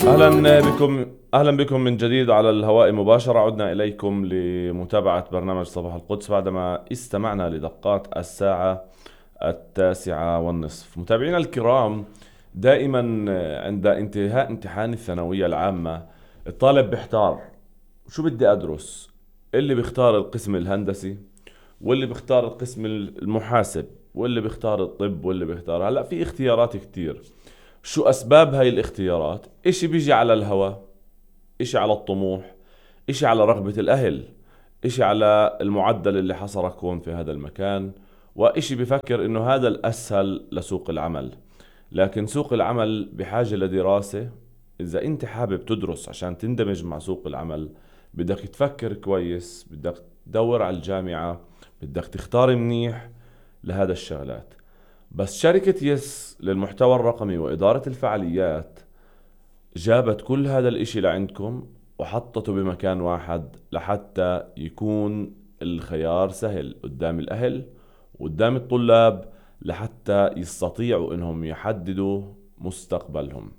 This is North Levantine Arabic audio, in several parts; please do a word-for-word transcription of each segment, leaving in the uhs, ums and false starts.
أهلا بكم أهلا بكم من جديد على الهواء مباشرة. عدنا إليكم لمتابعة برنامج صباح القدس بعدما استمعنا لدقات الساعة التاسعة والنصف. متابعينا الكرام، دائما عند انتهاء امتحان الثانوية العامة الطالب بيحتار شو بدي أدرس. اللي بيختار القسم الهندسي، واللي بيختار القسم المحاسب، واللي بيختار الطب، واللي بيختار هلأ في اختيارات كتير. شو أسباب هاي الاختيارات؟ إشي بيجي على الهوى، إشي على الطموح، إشي على رغبة الأهل، إشي على المعدل اللي حصرك هون في هذا المكان، وإشي بفكر إنه هذا الأسهل لسوق العمل. لكن سوق العمل بحاجة لدراسة. إذا أنت حابب تدرس عشان تندمج مع سوق العمل، بدك تفكر كويس، بدك تدور على الجامعة، بدك تختار منيح لهذا الشغلات. بس شركة يس للمحتوى الرقمي وإدارة الفعاليات جابت كل هذا الاشي لعندكم وحطته بمكان واحد لحتى يكون الخيار سهل قدام الأهل وقدام الطلاب، لحتى يستطيعوا انهم يحددوا مستقبلهم.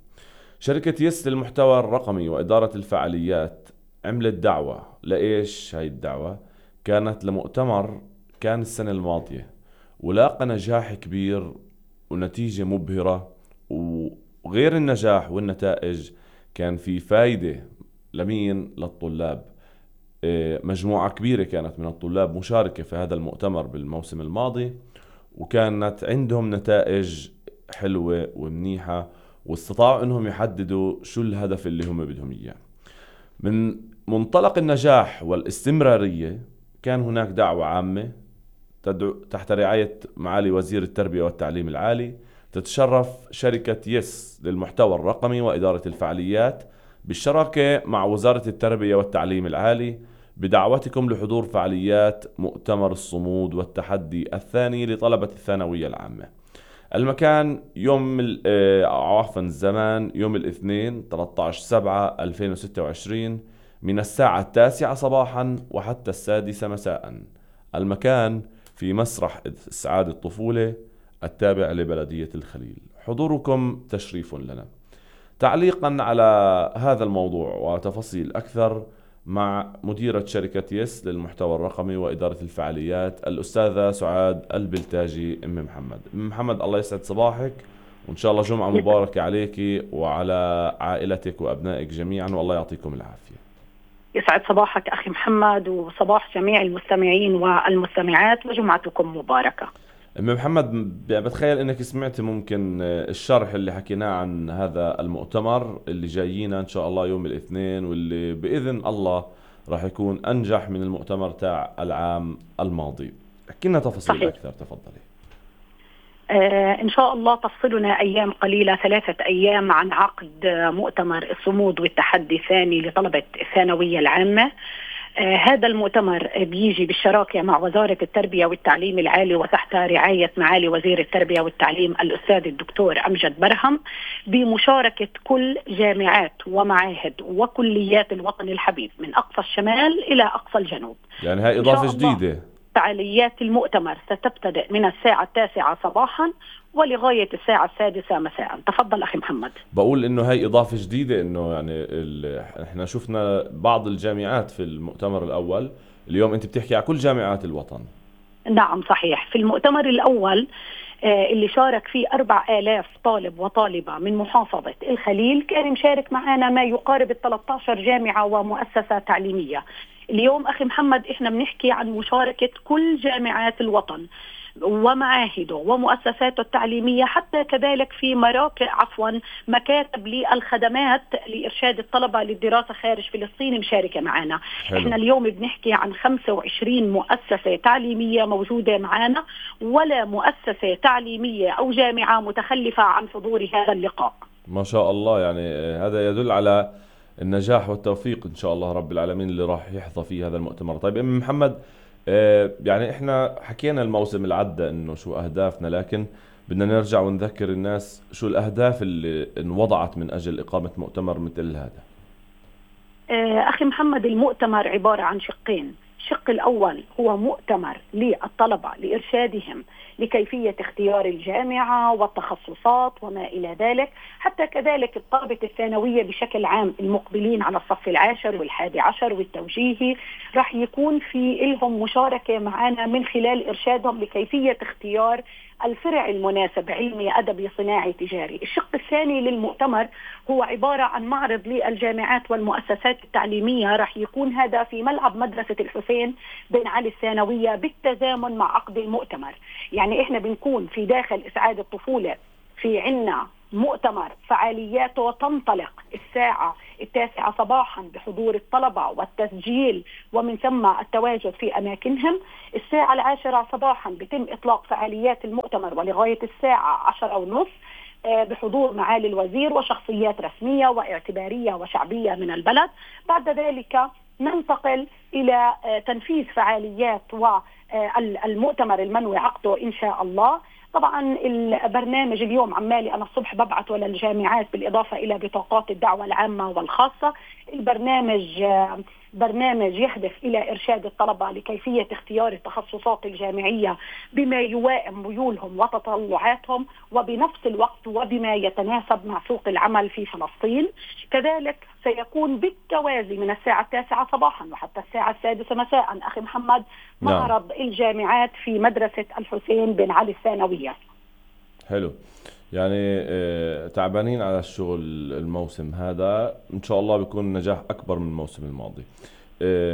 شركة يس للمحتوى الرقمي وإدارة الفعاليات عملت دعوة. لإيش هاي الدعوة؟ كانت لمؤتمر كان السنة الماضية، ولاقى نجاح كبير ونتيجة مبهرة. وغير النجاح والنتائج كان في فايدة لمين؟ للطلاب. مجموعة كبيرة كانت من الطلاب مشاركة في هذا المؤتمر بالموسم الماضي، وكانت عندهم نتائج حلوة ومنيحة، واستطاعوا انهم يحددوا شو الهدف اللي هم بدهم اياه. من منطلق النجاح والاستمرارية كان هناك دعوة عامة تحت رعاية معالي وزير التربية والتعليم العالي. تتشرف شركة يس للمحتوى الرقمي وإدارة الفعاليات بالشراكة مع وزارة التربية والتعليم العالي بدعوتكم لحضور فعاليات مؤتمر الصمود والتحدي الثاني لطلبة الثانوية العامة. المكان يوم عفوا الزمان يوم الاثنين ثلاثة عشر سبعة ألفين وستة وعشرين من الساعة التاسعة صباحا وحتى السادسة مساء. المكان في مسرح إسعاد الطفولة التابع لبلدية الخليل. حضوركم تشريف لنا. تعليقا على هذا الموضوع وتفاصيل أكثر مع مديرة شركة يس للمحتوى الرقمي وإدارة الفعاليات الأستاذة سعاد البلتاجي. أم محمد أم محمد الله يسعد صباحك، وإن شاء الله جمعة مباركة عليك وعلى عائلتك وأبنائك جميعا، والله يعطيكم العافية. يسعد صباحك أخي محمد وصباح جميع المستمعين والمستمعات، وجمعتكم مباركة. أم محمد، بتخيل انك سمعت ممكن الشرح اللي حكيناه عن هذا المؤتمر اللي جايينا ان شاء الله يوم الاثنين، واللي بإذن الله راح يكون انجح من المؤتمر تاع العام الماضي. احكي لنا تفاصيل صحيح. اكثر تفضلي. آه إن شاء الله تفصلنا أيام قليلة، ثلاثة أيام، عن عقد مؤتمر الصمود والتحدي الثاني لطلبة الثانوية العامة. آه هذا المؤتمر بيجي بالشراكة مع وزارة التربية والتعليم العالي وتحت رعاية معالي وزير التربية والتعليم الأستاذ الدكتور أمجد برهم، بمشاركة كل جامعات ومعاهد وكليات الوطن الحبيب من أقصى الشمال إلى أقصى الجنوب. يعني هاي إضافة جديدة. فعاليات المؤتمر ستبتدئ من الساعة التاسعة صباحا ولغاية الساعة السادسة مساء. تفضل أخي محمد. بقول إنه هاي إضافة جديدة، إنه يعني إحنا شفنا بعض الجامعات في المؤتمر الأول، اليوم أنت بتحكي على كل جامعات الوطن. نعم صحيح. في المؤتمر الأول اللي شارك فيه أربع آلاف طالب وطالبة من محافظة الخليل، كان مشارك معنا ما يقارب ثلاثة عشر جامعة ومؤسسة تعليمية. اليوم أخي محمد إحنا بنحكي عن مشاركة كل جامعات الوطن ومعاهده ومؤسساته التعليمية، حتى كذلك في مراكز عفوا مكاتب للخدمات لإرشاد الطلبة للدراسة خارج فلسطين مشاركة معنا. حلو. إحنا اليوم بنحكي عن خمسة وعشرين مؤسسة تعليمية موجودة معنا، ولا مؤسسة تعليمية أو جامعة متخلفة عن حضور هذا اللقاء. ما شاء الله، يعني هذا يدل على النجاح والتوفيق إن شاء الله رب العالمين اللي راح يحظى فيه هذا المؤتمر. طيب أم محمد، يعني احنا حكينا الموسم العدة انه شو اهدافنا، لكن بدنا نرجع ونذكر الناس شو الاهداف اللي انوضعت من اجل اقامة مؤتمر مثل هذا. اخي محمد، المؤتمر عبارة عن شقين. الشق الأول هو مؤتمر للطلبة لإرشادهم لكيفية اختيار الجامعة والتخصصات وما إلى ذلك، حتى كذلك الطلبة الثانوية بشكل عام المقبلين على الصف العاشر والحادي عشر والتوجيهي راح يكون في لهم مشاركة معنا من خلال إرشادهم لكيفية اختيار الفرع المناسب، علمي أدبي صناعي تجاري. الشق الثاني للمؤتمر هو عبارة عن معرض للجامعات والمؤسسات التعليمية، راح يكون هذا في ملعب مدرسة الحسين بن علي الثانوية بالتزامن مع عقد المؤتمر. يعني إحنا بنكون في داخل إسعاد الطفولة في عنا مؤتمر فعالياته تنطلق الساعة التاسعة صباحا بحضور الطلبة والتسجيل ومن ثم التواجد في أماكنهم. الساعة العاشرة صباحا بتم إطلاق فعاليات المؤتمر ولغاية الساعة عشرة ونصف بحضور معالي الوزير وشخصيات رسمية واعتبارية وشعبية من البلد. بعد ذلك ننتقل إلى تنفيذ فعاليات والمؤتمر المنوي عقده إن شاء الله. طبعا البرنامج اليوم عمالي أنا الصبح ببعثه للجامعات بالإضافة إلى بطاقات الدعوة العامة والخاصة. البرنامج برنامج يهدف إلى إرشاد الطلبة لكيفية اختيار التخصصات الجامعية بما يوائم ميولهم وتطلعاتهم وبنفس الوقت وبما يتناسب مع سوق العمل في فلسطين. كذلك سيكون بالتوازي من الساعة التاسعة صباحا وحتى الساعة السادسة مساء أخي محمد معرض نعم. الجامعات في مدرسة الحسين بن علي الثانوية. حلو، يعني تعبانين على الشغل الموسم هذا، إن شاء الله بيكون نجاح أكبر من الموسم الماضي.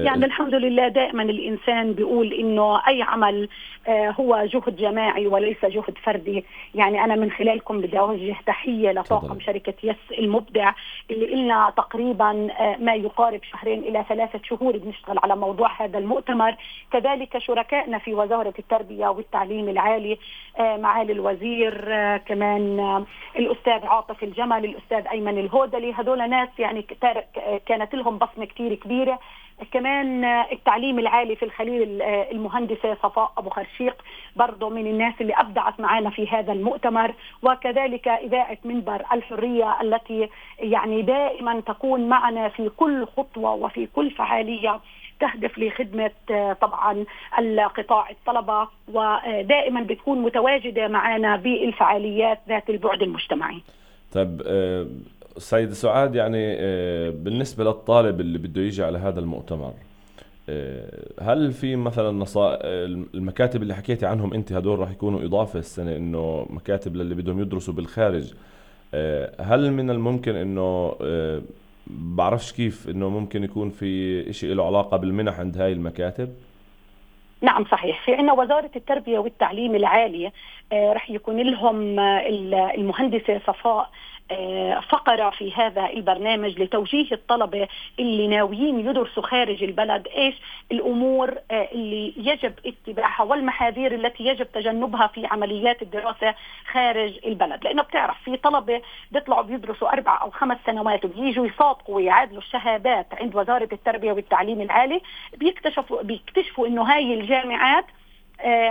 يعني الحمد لله دائما الإنسان بيقول إنه أي عمل هو جهد جماعي وليس جهد فردي. يعني أنا من خلالكم بدي أوجه تحية لطاقم شركة يس المبدع اللي إلنا تقريبا ما يقارب شهرين إلى ثلاثة شهور بنشتغل على موضوع هذا المؤتمر. كذلك شركائنا في وزارة التربية والتعليم العالي معالي الوزير، كمان الأستاذ عاطف الجمل، الأستاذ أيمن الهودلي، هذول ناس يعني كانت لهم بصمة كتير كبيرة. كمان التعليم العالي في الخليل المهندسة صفاء أبو خرشيق برضو من الناس اللي أبدعت معنا في هذا المؤتمر. وكذلك إذاعة منبر الحرية التي يعني دائما تكون معنا في كل خطوة وفي كل فعالية تهدف لخدمة طبعا القطاع الطلبة، ودائما بتكون متواجدة معنا بالفعاليات ذات البعد المجتمعي. طيب سيد سعاد، يعني بالنسبة للطالب اللي بده يجي على هذا المؤتمر، هل في مثلا نصائح؟ المكاتب اللي حكيتي عنهم انت هدول راح يكونوا إضافة السنة، انه مكاتب للي بدهم يدرسوا بالخارج، هل من الممكن انه بعرفش كيف انه ممكن يكون في اشي له علاقة بالمنح عند هاي المكاتب؟ نعم صحيح، في عنا وزارة التربية والتعليم العالي رح يكون لهم المهندسة صفاء فقرة في هذا البرنامج لتوجيه الطلبة اللي ناويين يدرسوا خارج البلد إيش الأمور اللي يجب اتباعها والمحاذير التي يجب تجنبها في عمليات الدراسة خارج البلد. لأنه بتعرف في طلبة بيطلعوا بيدرسوا أربع أو خمس سنوات وبييجوا يصادقوا ويعادلوا الشهادات عند وزارة التربية والتعليم العالي، بيكتشفوا بيكتشفوا إنه هاي الجامعات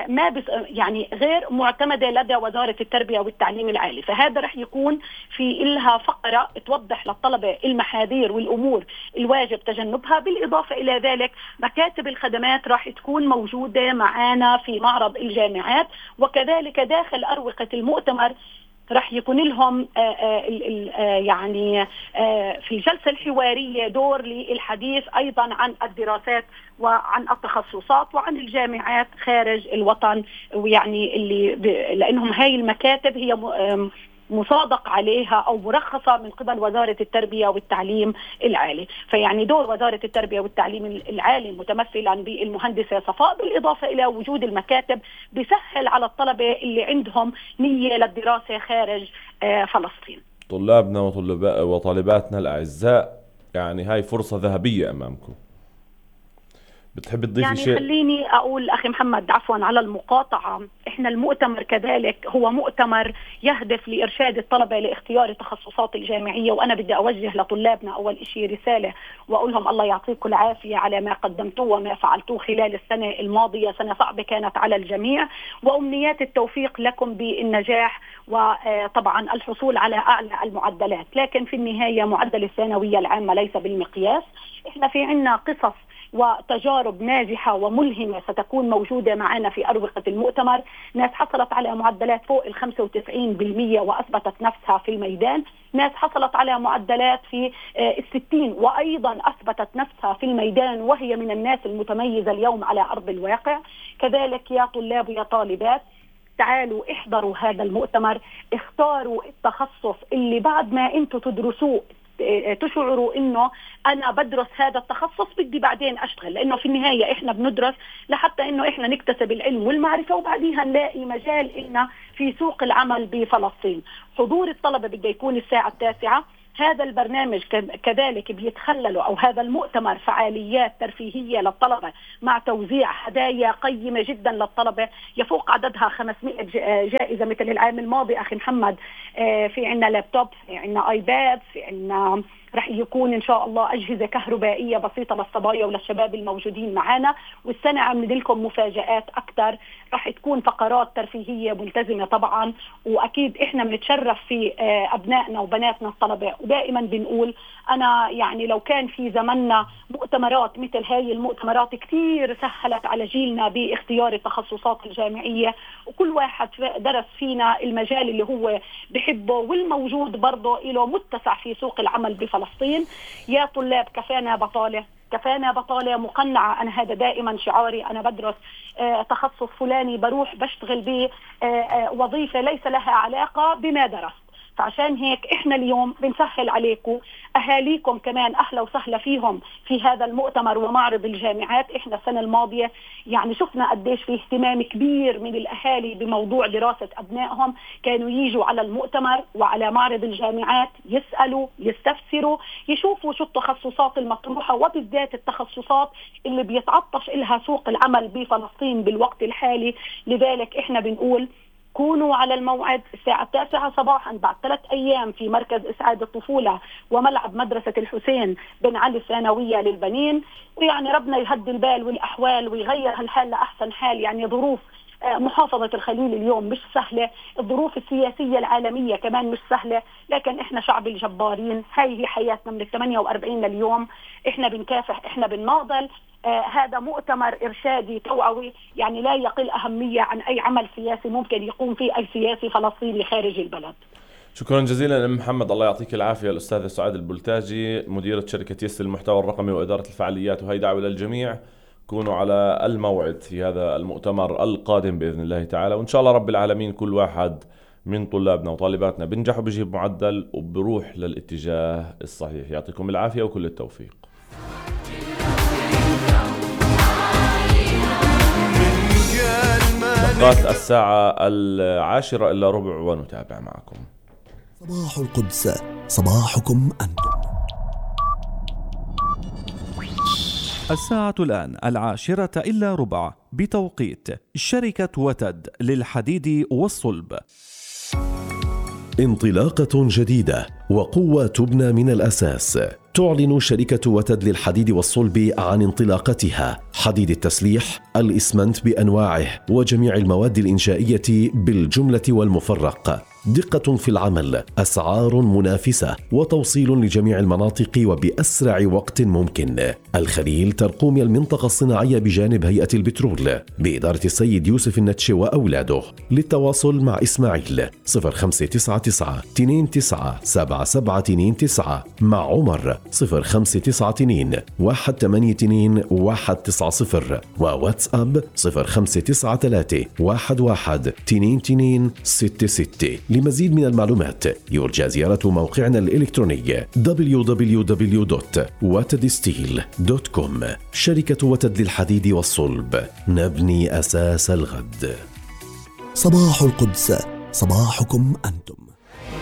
ما بس يعني غير معتمدة لدى وزارة التربية والتعليم العالي. فهذا رح يكون في إلها فقرة توضح للطلبة المحاذير والأمور الواجب تجنبها. بالإضافة إلى ذلك مكاتب الخدمات راح تكون موجودة معنا في معرض الجامعات، وكذلك داخل أروقة المؤتمر راح يكون لهم آآ آآ يعني آآ في الجلسة الحوارية دور للحديث أيضا عن الدراسات وعن التخصصات وعن الجامعات خارج الوطن، ويعني اللي لأنهم هاي المكاتب هي مصادق عليها أو مرخصة من قبل وزارة التربية والتعليم العالي. فيعني دور وزارة التربية والتعليم العالي متمثلا بالمهندسة صفاء، بالإضافة إلى وجود المكاتب بيسهل على الطلبة اللي عندهم نية للدراسة خارج فلسطين. طلابنا وطالباتنا الأعزاء، يعني هاي فرصة ذهبية أمامكم. بتحب تضيفي يعني شيء؟ خليني أقول أخي محمد عفوا على المقاطعة، إحنا المؤتمر كذلك هو مؤتمر يهدف لإرشاد الطلبة لاختيار التخصصات الجامعية. وأنا بدي أوجه لطلابنا أول إشي رسالة وأقول لهم الله يعطيكم العافية على ما قدمتوه وما فعلتوه خلال السنة الماضية. سنة صعبة كانت على الجميع، وأمنيات التوفيق لكم بالنجاح وطبعا الحصول على أعلى المعدلات. لكن في النهاية معدل الثانوية العامة ليس بالمقياس. إحنا في عنا قصص وتجارب ناجحة وملهمة ستكون موجودة معنا في أروقة المؤتمر. ناس حصلت على معدلات فوق ال خمسة وتسعين بالمئة وأثبتت نفسها في الميدان، ناس حصلت على معدلات في الستين وأيضا أثبتت نفسها في الميدان وهي من الناس المتميزة اليوم على أرض الواقع. كذلك يا طلاب ويا طالبات، تعالوا احضروا هذا المؤتمر، اختاروا التخصص اللي بعد ما انتوا تدرسوه تشعروا انه انا بدرس هذا التخصص بدي بعدين اشتغل، لانه في النهاية احنا بندرس لحتى انه احنا نكتسب العلم والمعرفة وبعديها نلاقي مجال إلنا في سوق العمل بفلسطين. حضور الطلبة بده يكون الساعة التاسعة. هذا البرنامج كذلك بيتخلله أو هذا المؤتمر فعاليات ترفيهية للطلبة مع توزيع هدايا قيمة جدا للطلبة يفوق عددها خمسمائة جائزة مثل العام الماضي أخي محمد. في عنا لابتوب، في عنا آيباد، في عنا رح يكون إن شاء الله أجهزة كهربائية بسيطة للصبايا وللشباب الموجودين معنا. والسنة عم ندلكم مفاجآت أكثر، رح تكون فقرات ترفيهية ملتزمة طبعا، وأكيد إحنا بنتشرف في أبنائنا وبناتنا الطلبة. ودائما بنقول أنا يعني لو كان في زمننا مؤتمرات مثل هاي المؤتمرات كتير سهلت على جيلنا باختيار التخصصات الجامعية، وكل واحد درس فينا المجال اللي هو بحبه والموجود برضه له متسع في سوق العمل بفلسطين. يا طلاب كفانا بطالة، كفانا بطالة مقنعة. أنا هذا دائما شعاري، أنا بدرس آه تخصص فلاني بروح بشتغل به آه آه وظيفة ليس لها علاقة بما درست. فعشان هيك إحنا اليوم بنسهل عليكم، أهاليكم كمان أهلا وسهلا فيهم في هذا المؤتمر ومعرض الجامعات. إحنا السنة الماضية يعني شفنا قديش في اهتمام كبير من الأهالي بموضوع دراسة أبنائهم، كانوا ييجوا على المؤتمر وعلى معرض الجامعات يسألوا يستفسروا يشوفوا شو التخصصات المطروحة، وبالذات التخصصات اللي بيتعطش إلها سوق العمل بفلسطين بالوقت الحالي. لذلك إحنا بنقول كونوا على الموعد الساعة التاسعة صباحا بعد ثلاث أيام في مركز إسعاد الطفولة وملعب مدرسة الحسين بن علي الثانوية للبنين. ويعني ربنا يهدي البال والأحوال ويغير هالحال لأحسن حال. يعني ظروف محافظة الخليل اليوم مش سهلة، الظروف السياسية العالمية كمان مش سهلة، لكن إحنا شعب الجبارين. هاي هي حياتنا من الثمانية وأربعين لليوم، إحنا بنكافح، إحنا بنناضل. آه هذا مؤتمر إرشادي توعوي، يعني لا يقل أهمية عن أي عمل سياسي ممكن يقوم فيه أي سياسي فلسطيني خارج البلد. شكرا جزيلا أم محمد، الله يعطيك العافية. الأستاذة سعاد البلتاجي مديرة شركة يس المحتوى الرقمي وإدارة الفعاليات، وهي دعوة للجميع كونوا على الموعد في هذا المؤتمر القادم بإذن الله تعالى. وإن شاء الله رب العالمين كل واحد من طلابنا وطالباتنا بنجح وبيجيب معدل وبروح للاتجاه الصحيح. يعطيكم العافية وكل التوفيق. دقات الساعة العاشرة إلا ربع ونتابع معكم صباح القدس، صباحكم أنتم. الساعة الآن العاشرة إلا ربع بتوقيت شركة وتد للحديد والصلب. انطلاقة جديدة وقوة تبنى من الأساس. تعلن شركة وتد للحديد والصلب عن انطلاقتها حديد التسليح، الإسمنت بأنواعه وجميع المواد الإنشائية بالجملة والمفرق. دقة في العمل، أسعار منافسة، وتوصيل لجميع المناطق وبأسرع وقت ممكن. الخليل ترقوم المنطقة الصناعية بجانب هيئة البترول بإدارة السيد يوسف النتش وأولاده. للتواصل مع إسماعيل صفر خمسة تسعة تسعة اثنين تسعة سبعة سبعة اثنين تسعة، مع عمر صفر خمسة تسعة اثنين واحد ثمانية اثنين واحد تسعة صفر، وواتساب صفر خمسة تسعة ثلاثة واحد واحد اثنين اثنين ستة ستة. لمزيد من المعلومات يرجى زيارة موقعنا الإلكتروني دبليو دبليو دبليو دوت وتد ستيل دوت كوم. شركة وتد للحديد والصلب، نبني أساس الغد. صباح القدس، صباحكم أنتم.